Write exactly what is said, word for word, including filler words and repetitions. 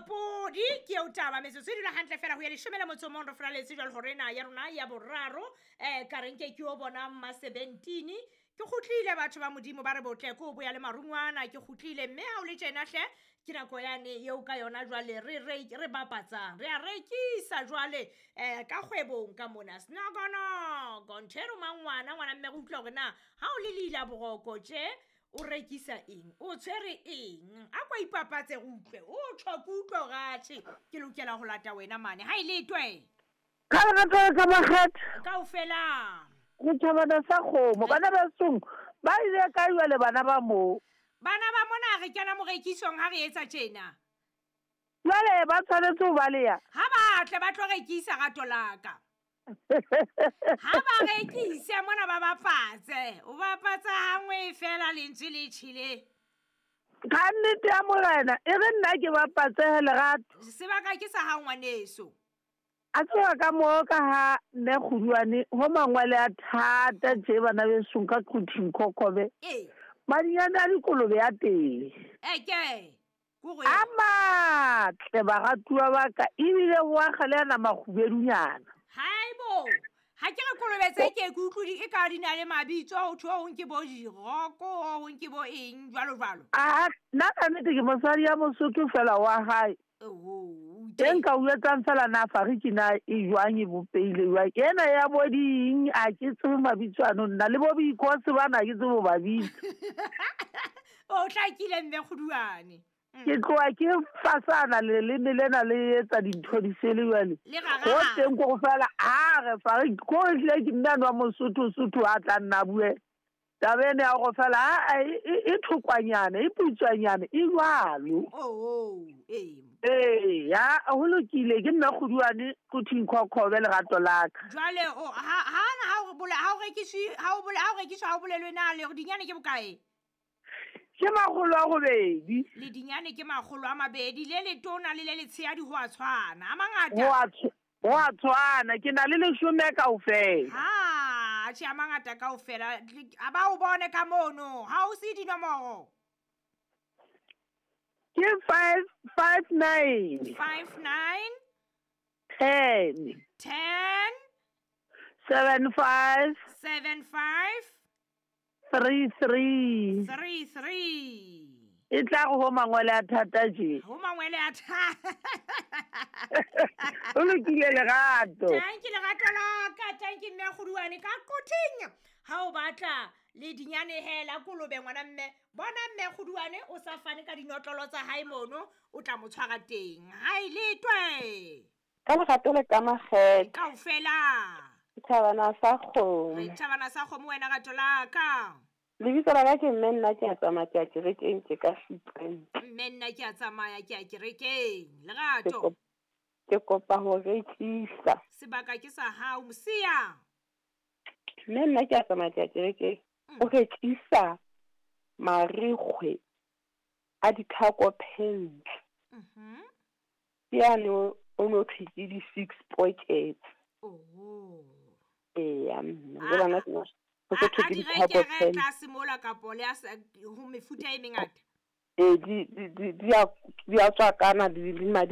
Podi ke eo taba metsotso e dula hantle fela ho ya leshome le motso o mong re furaletse jwale hore ena ya rona ya boraro um ka reng ke ke o bona mmasebentini ke kgutlile batho ba modimo ba re botle ke o boya le marungwana ke kgutlile mme ha o le tjena hle ke nako yane eo ka yona jwale re re re bapatsang re a rekisa jwale um ka kgwebong ka mona senokonoko ntho e romang ngwana ngwana mme re utlwa hore na ha o le leila boroko tje o rekisa eng o tshwere eng a kwa ipapatse re utlwe o tjho ke utlwe hore atjhe ke lokela ho lata wena mane ha e letwe Ka lerato le ka makgetha kaofela go thabana sa kgomo bana ba song ba ile kae jwale bana ba moo bana ba mona re kena morekisong ha re etsa tjena jwale ba tshwanetse ho baleya ha ba tle ba tlo rekisa rato la ka ha ba rekise mona ba bapatse o bapatsa hangwe fela lentswe le tjhele ka nnete ya morena e re nna ke bapatsehe lerato sebaka ke sa hao ngwaneso a tseba ka moo ka ha mme kguduane ho mangwele a thata tje bana besong ka Quthing Khokobe ee madinyane a dikolobe ya teng eke kore a matle baratuwa ba ka ebile ho akga le ana makgubedunyana haibo ha ke re kolobe tse ke ke utlwe di e ka di na le mabitso ho thwe ho ke bo diroko ho ke bo eng jwalo jwalo a nna ka nnete ke mosadi ya mosotho fela wa hae oho teng ka o etsang fela na fariki na e jwang e bopeile jwang ena ya bo ding a ke tsebe mabitso ano nna le bo boikose bana ke tsebe ho ba bitsa o hlakile mme kguduane ke tloha ke fasana leleme lena le etsa dintho di sele jwale le ho rara teng ko fela a re fariki ko re hlile ke mme ano wa mosotho sotho a tla nna a bue taba ena ya hore fela aa e e- e thokwanyana e putswanyana e jwalo oho ee ee ya ho lokile ke nna kguduane Quthing Khokobe lerato la ka jwale o ha ha na ha o bola ha o rekiswe ha o bola ha o rekiswa ha o bolelwe na le hore dinyane ke bokae ke makgolo a robedi le dinyane ke makgolo a mabedi le letona le le letshehadi ho a tshwana a mangata ho a tshw- ho a tshwana ke na le leshome kaofela ha atjhe a mangata kaofela a ba o bone ka mono ha o se dinomoro ke five five nine five nine ten ten seven five seven five three three three three e tla re ho mangwele a thata tje ho mangwele a thata ho lokile lerato tanki lerato la ka tanki mme kguduane ka Quthing ha o batla le dinyane hela kolobe ngwana mme bona mme kguduane o sa fane ka dinotlolo tsa hae mono o tla mo tshwara teng ha e letwe Ka lerato le ka makgethe kaofela thabana sa re kgomo thabana sa kgomo wena rato la ka lebitso la ka ke mme nna ke a tsamaya ke ya kerekeng ke ka Fipreng mme nna ke a tsamaya ke ya kerekeng ke lerato kop- ke kopa ho rekisa sebaka ke sa hao mosia mme nna ke a tsamaya ke ya kerekeng o rekisa marikgwe a di-cargo pants mhm ke yane o o no thwe ke di-six pockets oho eya mme A- le bana ke ho a se thwe a ke di di-cargo rekere pants tlase mola kapo le a sa- ho mefuta e mengata ee di di di di a di a tswakana le le madi